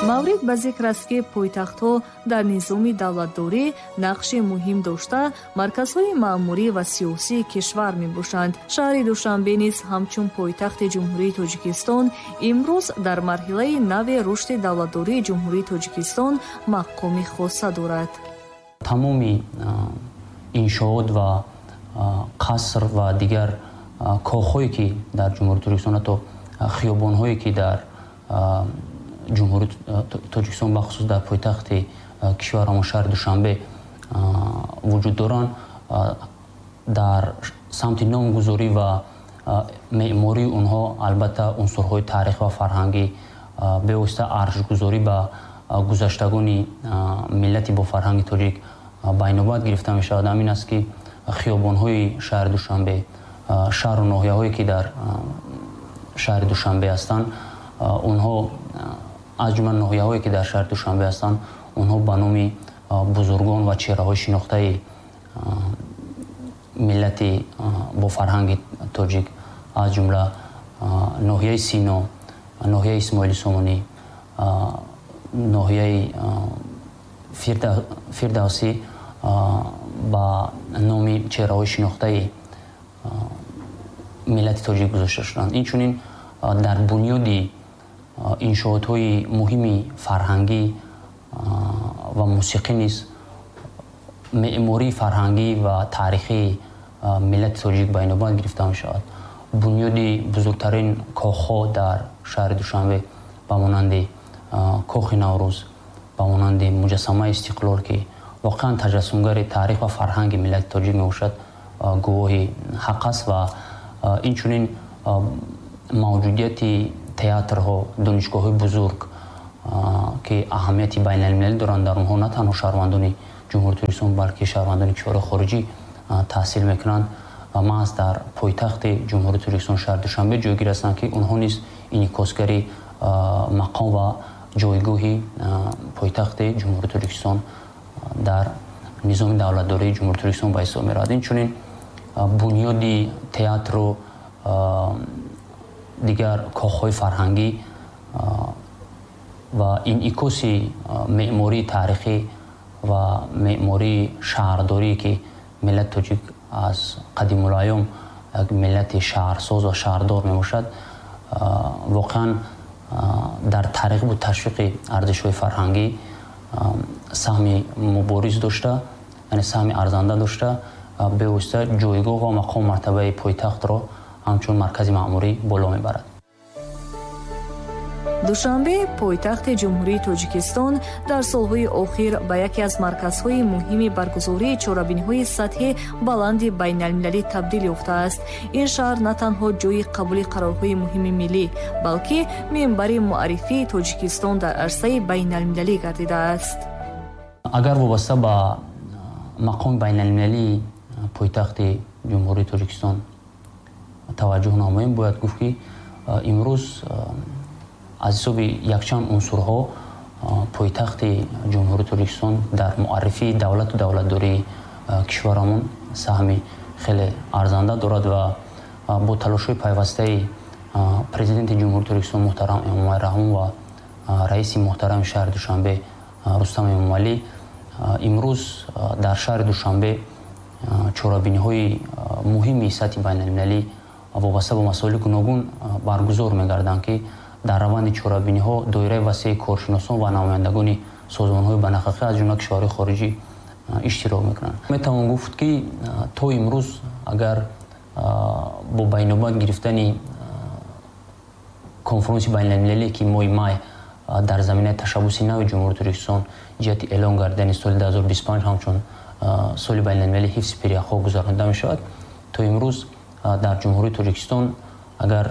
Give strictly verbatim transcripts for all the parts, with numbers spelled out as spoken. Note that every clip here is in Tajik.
Маврид ба зикр аст, ки пойтахтҳо дар низоми давлатдорӣ нақши муҳим дошта, марказҳои маъмурӣ ва сиёсии кишвар мебошанд. Шаҳри Душанбе низ ҳамчун пойтахти Ҷумҳурии Тоҷикистон имрӯз дар марҳилаи нави рушди давлатдории Ҷумҳурии Тоҷикистон мақоми хоса дорад. Тамоми иншоот ва қаср ва дигар кохҳое, ки дар Ҷумҳурии Тоҷикистон, ҳатто хиёбонҳое, ки дар Ҷумҳурии Тоҷикистон, бахусус дар пойтахти кишварамон, шаҳри Душанбе, вуҷуд доранд, дар самти номгузорӣ ва меъмории онҳо албатта унсурҳои таърих ва фарҳангӣ, бевосита арҷгузорӣ ба гузаштагони миллати бофарҳанги тоҷик байнобат гирифта мешавад. Ҳамин аст, ки хиёбонҳои шаҳри Душанбе, шаҳру ноҳияҳое, ки дар шаҳри Душанбе ҳастанд, онҳо, аз ҷумла ноҳияҳое, ки дар шаҳри Душанбе ҳастанд, онҳо ба номи бузургон ва чеҳраҳои шинохтаи миллати бофарҳанги тоҷик, аз ҷумла ноҳияи Сино, ноҳияи Исмоили Сомонӣ, ноҳияи Фирдавсӣ, ба номи чеҳраҳои шинохтаи миллати тоҷик гузошта шуданд. Инчунин дар бунёди иншоотҳои муҳими фарҳангӣ ва мусиқӣ низ меъмории фарҳангӣ ва таърихии миллати тоҷик ба инобат гирифта мешавад. Бунёди бузургтарин кохҳо дар шаҳри Душанбе, ба монанди Кохи Наврӯз, ба монанди муҷассамаи Истиқлол, ки воқеан таҷассумгари таърих ва фарҳанги миллати тоҷик мебошад, гувоҳи ҳақ аст. Ва инчунин мавҷудияти театрҳо, донишгоҳҳои бузург, ки аҳамияти байналмилалӣ доранд, дар онҳо на танҳо шаҳрвандони Ҷумҳурии Тоҷикистон, балки шаҳрвандони кишварҳои хориҷӣ таҳсил мекунанд ва маҳз дар пойтахти Ҷумҳурии Тоҷикистон, шаҳри Душанбе, ҷойгир ҳастанд, ки онҳо низ инъикосгари мақом ва ҷойгоҳи пойтахти Ҷумҳурии Тоҷикистон дар низоми давлатдории Ҷумҳурии Тоҷикистон ба ҳисоб меравад. Инчунин бунёди театру дигар кохҳои фарҳангӣ ва инъикоси меъмории таърихӣ ва меъмории шаҳрдорӣ, ки миллати тоҷик аз қадимулайём як миллати шаҳрсоз ва шаҳрдор мебошад, воқеан дар тарғибу ташвиқи арзишҳои фарҳангӣ саҳми мубориз дошта, яъне саҳми арзанда дошта, бевосита ҷойгоҳ ва мақому мартабаи пойтахтро ҳамчун маркази маъмурӣ боло мебарад. Душанбе, пойтахти Ҷумҳурии Тоҷикистон, дар солҳои охир ба яке аз марказҳои муҳими баргузории чорабиниҳои сатҳи баланди байналмилалӣ табдил ёфтааст. Ин шаҳр на танҳо ҷойи қабули қарорҳои муҳими миллӣ, балки минбари муаррифии Тоҷикистон дар арсаи байналмилалӣ гардидааст. Агар вобаста ба мақоми байналмилалии пойтахти Ҷумҳурии Тоҷикистон таваҷҷӯҳ намоем, бояд гуфт, ки имрӯз аз ҳисоби якчанд унсурҳо пойтахти Ҷумҳурии Тоҷикистон дар муаррифии давлату давлатдории кишварамон саҳми хеле арзанда дорад ва бо талошҳои пайвастаи Президенти Ҷумҳурии Тоҷикистон муҳтарам Эмомалӣ Раҳмон ва раиси муҳтарами шаҳри Душанбе Рустам Эмомалӣ имрӯз дар шаҳри Душанбе чорабиниҳои муҳими сатҳи байналмилалӣ вобаста ба масоили гуногун баргузор мегарданд, ки дар раванди чорабиниҳо доираи васеи коршиносон ва намояндагони созмонҳои байналхалқӣ, аз ҷумла кишварҳои хориҷӣ, иштирок мекунанд. Метавон гуфт, ки то имрӯз агар бо байнобат гирифтани конфронси байналмилалие, ки моҳи май дар заминаи ташаббуси нави Ҷумҳурии Тоҷикистон ҷиҳати эълон гардидани соли дуҳазору бисту панҷ ҳамчун соли байналмилалии ҳифзи пиряхҳо гузаронида мешавад, то имрӯз дар Ҷумҳурии Тоҷикистон агар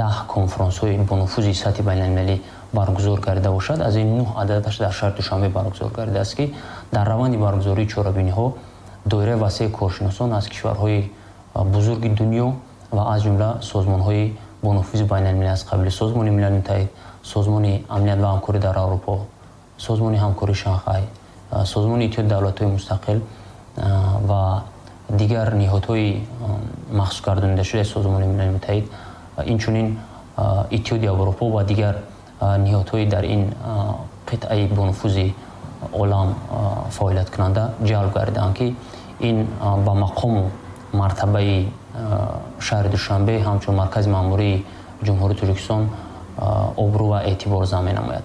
даҳ конфронсҳои бонуфузи сатҳи байналмилалӣ баргузор гардида бошад, аз ин нӯҳ ададаш дар шаҳри Душанбе баргузор гардидааст, ки дар раванди баргузории чорабиниҳо доираи васеи коршиносон аз кишварҳои бузурги дунё ва аз ҷумла созмонҳои бонуфузи байналмилалӣ аз қабили Созмони Милали Муттаҳид, Созмони Амният ва ҳамкорӣ дар Аврупо, Созмони ҳамкории Шанхай, Созмони Иттиҳоди Давлатҳои Мустақил ва дигар ниҳодҳои махсус гардонидашудаи Созмони Милали Муттаҳид, инчунин Иттиҳоди Аврупо ва дигар ниҳодҳои дар ин қитъаи бонуфузи олам фаъолияткунанда ҷалб гардиданд, ки ин ба мақому мартабаи шаҳри Душанбе ҳамчун маркази маъмурии Ҷумҳурии Тоҷикистон обрӯ ва эътибор зам менамояд.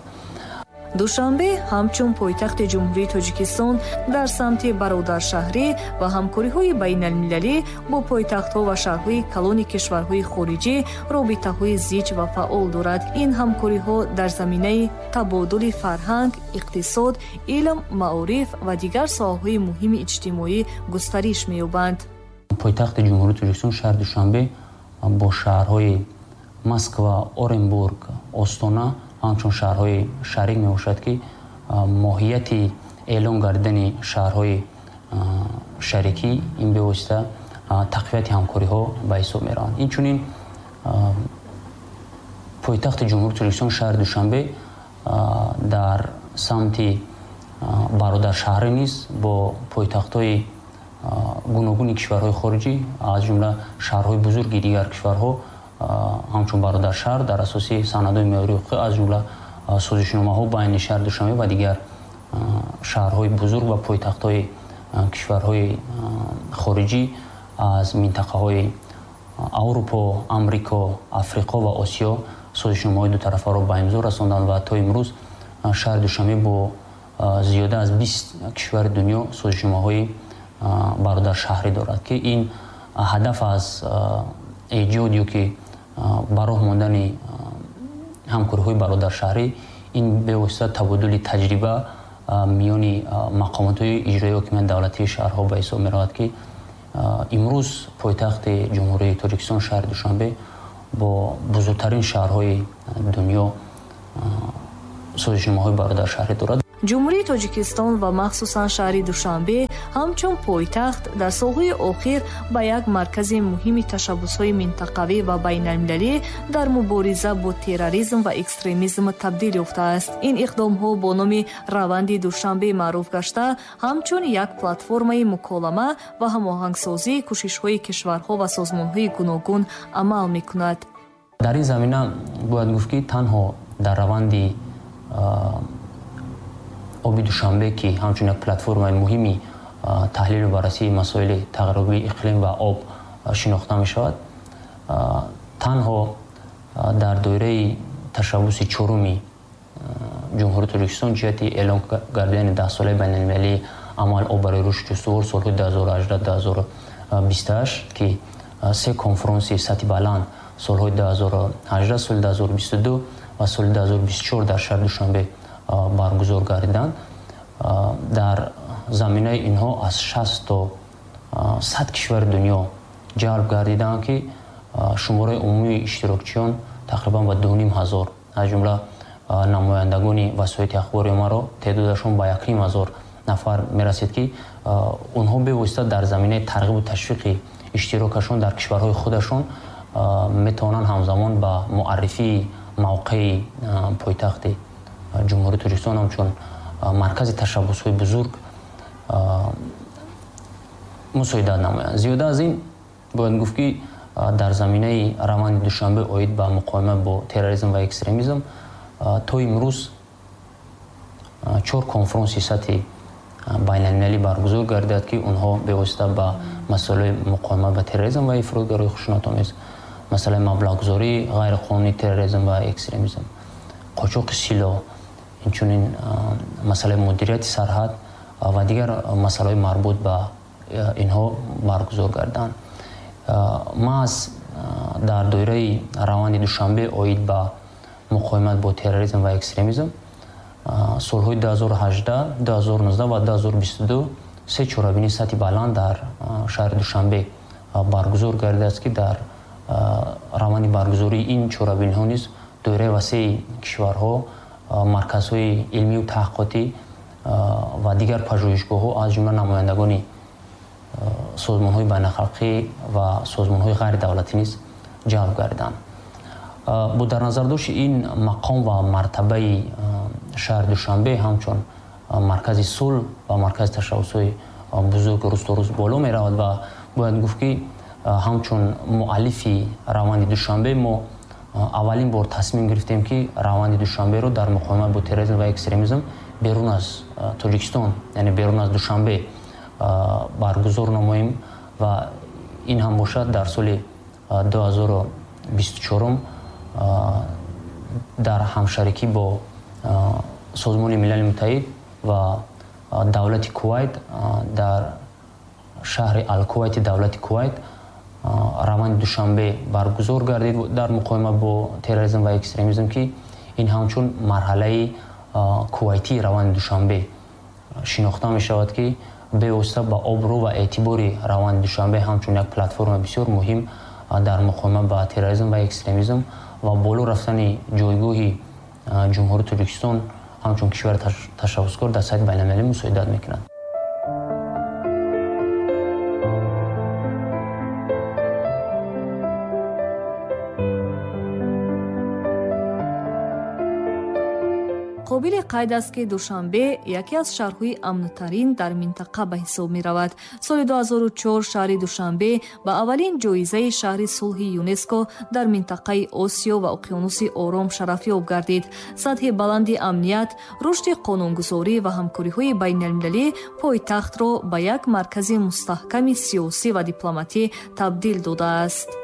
Душанбе ҳамчун пойтахти Ҷумҳурии Тоҷикистон дар самти бародаршаҳрӣ ва ҳамкориҳои байналмилалӣ бо пойтахтҳо ва шаҳрҳои калони кишварҳои хориҷӣ робитаҳои зич ва фаъол дорад. Ин ҳамкориҳо дар заминаи табодули фарҳанг, иқтисод, илм, маориф ва дигар соҳаҳои муҳими иҷтимоӣ густариш меёбанд. Пойтахти Ҷумҳурии Тоҷикистон шаҳри Душанбе бо шаҳрҳои Москва, Оренбург, Остона ҳамчун шаҳрҳои шарик мебошад, ки моҳияти эълон гардидани шаҳрҳои шарикӣ ин бевосита тақвияти ҳамкориҳо ба ҳисоб мераванд. Инчунин пойтахти Ҷумҳурии Тоҷикистон шаҳри Душанбе дар самти бародаршаҳрӣ низ бо пойтахтҳои гуногуни кишварҳои хориҷӣ, аз ҷумла шаҳрҳои бузурги дигар кишварҳо ҳамчун бародаршаҳр дар асоси санадҳои меъёрии ҳуқуқӣ, аз ҷумла созишномаҳо байни шаҳри Душанбе ва дигар шаҳрҳои бузург ва пойтахтҳои кишварҳои хориҷӣ аз минтақаҳои Аврупо, Амрико, Африқо ва Осиё созишномаҳои дутарафаро ба имзо расонданд ва то имрӯз шаҳри Душанбе бо зиёда аз бист кишвари дунё созишномаҳои бародаршаҳрӣ дорад, ки ин ҳадаф аз эҷод ё ки ба роҳ мондани ҳамкориҳои бародаршаҳрӣ ин бевосита табодули таҷриба миёни мақомотҳои иҷроии ҳокимияти давлатии шаҳрҳо ба ҳисоб меравад, ки имрӯз пойтахти Ҷумҳурии Тоҷикистон шаҳри Душанбе бо бузургтарин шаҳрҳои дунё созишномаҳои бародаршаҳрӣ дорад. Ҷумҳурии Тоҷикистон ва махсусан шаҳри Душанбе ҳамчун пойтахт дар солҳои охир ба як маркази муҳими ташаббусҳои минтақавӣ ва байналмилалӣ дар мубориза бо терроризм ва экстремизм табдил ёфтааст. Ин иқдомҳо бо номи раванди Душанбе маъруф гашта, ҳамчун як платформаи муколама ва ҳамоҳангсозии кӯшишҳои кишварҳо ва созмонҳои гуногун амал мекунад. Дар ин замина бояд гуфт, ки танҳо дар раванди оби Душанбе, ки ҳамчун як платформаи муҳими таҳлилу баррасии масоили тағйирёбии иқлим ва об шинохта мешавад, танҳо дар доираи ташаббуси чоруми Ҷумҳурии Тоҷикистон ҷиҳати эълон гардидани даҳсолаи байналмилалии амал об барои рушди устувор солҳои ду ҳазору ҳаждаҳ ду ҳазору бисту ҳашт, ки се конфронси сатҳи баланд солҳои ду ҳазору ҳаждаҳ, соли ду ҳазору бисту ду ва соли ду ҳазору бисту чор дар шаҳри Душанбе баргузор гардиданд. Дар заминаи инҳо аз шаст то сад кишвари дунё ҷалб гардиданд, ки шумораи умумии иштирокчиён тақрибан ба ду ним ҳазор, аз ҷумла намояндагони васоити ахбори оммаро теъдодашон ба як ним ҳазор нафар мерасид, ки онҳо бевосита дар заминаи тарғибу ташвиқи иштирокашон дар кишварҳои худашон метавонанд ҳамзамон ба муаррифии мавқеи пойтахти Ҷумҳурии Тоҷикистон ҳамчун маркази ташаббусҳои бузург мусоидат намоянд. Зиёда аз ин бояд гуфт, ки дар заминаи раванди Душанбе оид ба муқовимат бо терроризм ва экстремизм то имрӯз чор конфронси сатҳи байналмилалӣ баргузор гардидад, ки онҳо бевосита ба масъалаи муқовимат ба терроризм ва ифротгароии хушунатомез, масъалаи маблағгузории ғайриқонунии терроризм ва экстремизм, қочоқи силоҳ, инчунин масъалаи мудирияти сарҳад ва дигар масъалаҳои марбут ба инҳо баргузор гарданд. Маҳз дар доираи раванди Душанбе оид ба муқовимат бо терроризм ва экстремизм солҳои ду ҳазору ҳаждаҳ, ду ҳазору нуздаҳ ва ду ҳазору бисту ду се чорабинии сатҳи баланд дар шаҳри Душанбе баргузор гардидааст, ки дар раванди баргузории ин чорабиниҳо низ доираи васеи кишварҳо, марказҳои илмию таҳқиқотӣ ва дигар пажӯҳишгоҳҳо, аз ҷумла намояндагони созмонҳои байналхалқӣ ва созмонҳои ғайридавлатӣ низ ҷалб гардиданд. Бо дар назардошти ин мақом ва мартабаи шаҳри Душанбе ҳамчун маркази сулҳ ва маркази ташаббусҳои бузург рӯз то рӯз боло меравад ва бояд гуфт, ки ҳамчун муаллифи раванди Душанбе мо Аввалин бор тасмим гирифтем, ки раванди Душанберо дар муқовимат бо терроризм ва экстремизм берун аз Тоҷикистон, яъне берун аз Душанбе баргузор намоем ва ин ҳам бошад дар соли ду ҳазору бисту чорум дар ҳамшарикӣ бо Созмони Милали Муттаҳид ва давлати Кувайт дар шаҳри Алкувайти давлати Кувайт раванди Душанбе баргузор гардид дар муқовимат бо терроризм ва экстремизм, ки ин ҳамчун марҳалаи кувайтии раванди Душанбе шинохта мешавад, ки бевосита ба обрӯ ва эътибори раванди Душанбе ҳамчун як платформа бисёр муҳим дар муқовимат ба терроризм ва экстремизм ва боло рафтани ҷойгоҳи Ҷумҳурии Тоҷикистон ҳамчун кишвари ташаббускор дар сатҳи байналмилалӣ мусоидат мекунад. Қобили қайд аст, ки Душанбе яке аз шаҳрҳои амнтарин дар минтақа ба ҳисоб меравад. Соли ду ҳазору чор шаҳри Душанбе ба аввалин ҷоизаи шаҳри сулҳи ЮНЕСКО дар минтақаи Осиё ва Уқёнуси Ором шарафёб гардид. Сатҳи баланди амният, рушди қонунгузорӣ ва ҳамкориҳои байналмилалӣ пойтахтро ба як маркази мустаҳками сиёсӣ ва дипломатӣ табдил додааст.